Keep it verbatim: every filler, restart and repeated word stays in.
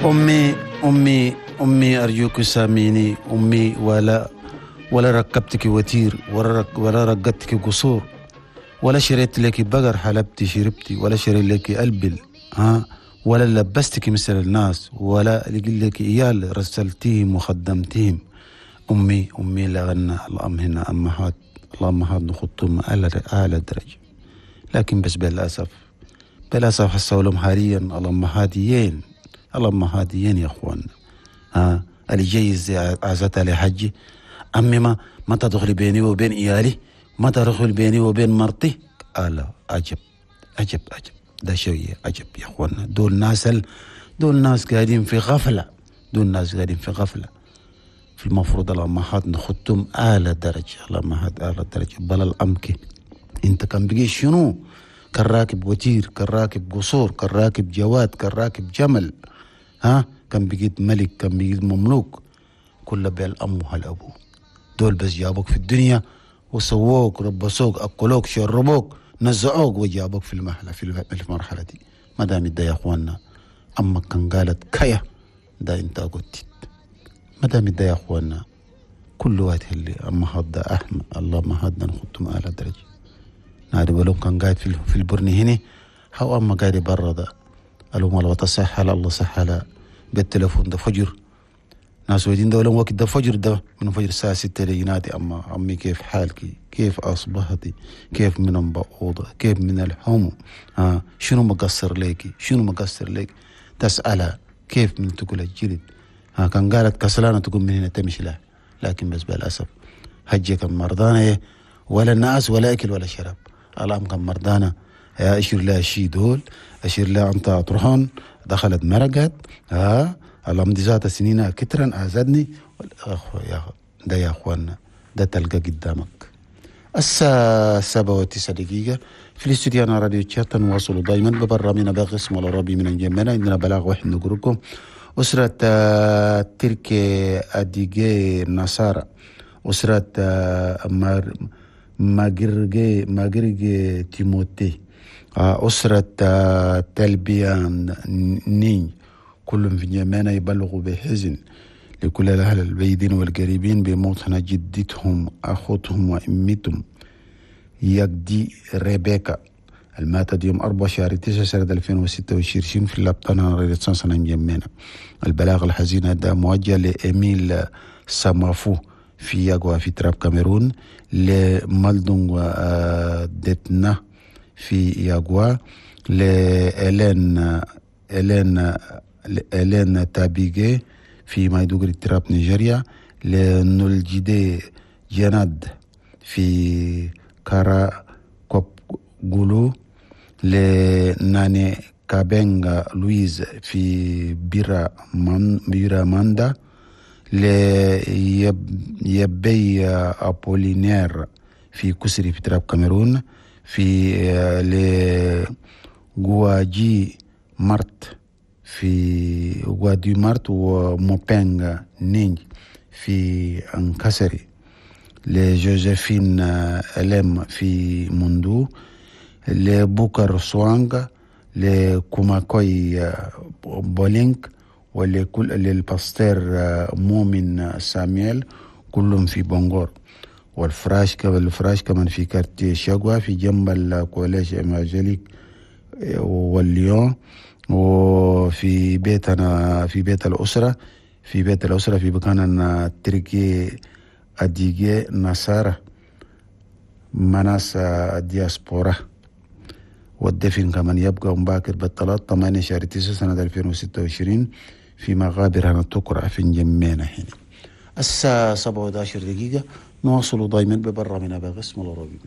أمي أمي أمي أرجوك ساميني أمي، ولا ولا ركبتك وتير، ولا ولا رقدتك قصور، ولا شريت لك بقر حلبتي شربتي، ولا شريت لك ألبل، ها، ولا لبستك مثل الناس، ولا لك إيال رسلتيهم وخدمتيهم. أمي أمي لغنى الأم هنا أمهات، الأمهات نخطهم أعلى أعلى درجة، لكن بس بالأسف بالأسف حسوا لهم حاليا الأمهاتيين الأمهاتيين يا أخوان، ها، اللي جاي عزت على حجي أمي ما ما تدخلي بيني وبين إيالي، ما تدخل بيني وبين مرتي. قال عجب عجب عجب، ده شيء عجب يا أخوانا. دول ناس دول ناس قاعدين في غفلة، دول ناس قاعدين في غفلة. في المفروض الأمهات نخطهم أعلى درجة، الأمهات أعلى درجة. بل الأمكي أنت كان بقي شنو؟ كان راكب وتير، كان راكب قصور، كان راكب جواد، كان راكب جمل، ها، كان بقيت ملك، كان بقيت مملوك، كله بالأم وهالأبو. دول بس جابوك في الدنيا وسووك، ربصوك، أكلوك، شربوك، نزعوك، وجابوك في المرحلة في المرحلة دي. ما دام ده يا أخوانا أمك كان قالت كيا ده أنت قلت، ما دام ده يا أخوانا كل وقت اللي أما هذا أحمد الله ما هذا نخطهم أعلى درجة. نادي ولو كان قاعد في في البرني هنا، هو أما قاعد برا ده قالوا ما لو تصح الله صح بالتليفون ده فجر، ناس ودين ده وقت ده فجر، ده من فجر الساعة ستة ينادي أما أمي كيف حالك، كيف أصبحتي، كيف من البعوضة، كيف من الحمو، ها، شنو مقصر ليكي، شنو مقصر ليك، تسألها كيف من تقول الجلد، ها، كان قالت كسلانة تقوم من هنا تمشي لها. لكن بس بالأسف هجي كان مرضانة، ولا ناس ولا أكل ولا شراب. الأم كان مرضانة، يا أشير لها شي دول، أشير لها أنت أطرحون، دخلت مرقت، ها، الأم دي ذات سنين كترا أزدني. أخو يا ده يا أخوانا ده تلقى قدامك. الساعة سبعة وتسعة دقيقة في الاستوديو أنا راديو تشات، نواصل دايما ببرنامجنا بقسم العربي من الجمانة. عندنا بلاغ واحد نقولكم أسرة تركي أديجي نصارى، أسرة ماجرجي ماجرجي تيموتي، أسرة تلبيان نين، كلهم في جمانة يبلغوا بحزن لكل الأهل البيدين والقريبين بموت جدتهم أخوتهم وأمتهم يجدي ريبيكا الماتت يوم أربعة شهر تسعة سنة ألفين وستة وعشرين في اللبطانة رينيسانس نجمينا. البلاغ الحزين هذا موجه لإيميل سامافو في ياغوا في تراب كاميرون، لمالدونغ ديتنا في ياغوا، لإلين إلين إلين تابيجي في مايدوغري تراب نيجيريا، لنولجيدي جناد في كارا كوب غولو، لناني كابينغا لويز في بيرا من بيرا ماندا، ليبي أبولينير في كسري في تراب كاميرون، في لغواجي مارت في غوادي مارت وموبينغ نينج في أنكسري، لجوزيفين ألم في موندو، لبوكر سوانغ، لكوماكوي بولينك، ولكل للباستير مومن ساميل، كلهم في بونغور. والفراش كمان الفراش كمان في quartier شاغوا في جنب ال collège évangélique والليون، وفي بيتنا في بيت الأسرة في بيت الأسرة في مكان تركي أديجي نصارى مناس دياسبورا. والدفن كمان يبقى مباكر بالثلاث ثمانية شهر تسعة سنة ألفين وستة وعشرين في مغابر هنا تقرأ في جمينا هنا. الساعة سبعة وعشر دقيقة نواصل دايما ببرنامجنا بقسم العربي.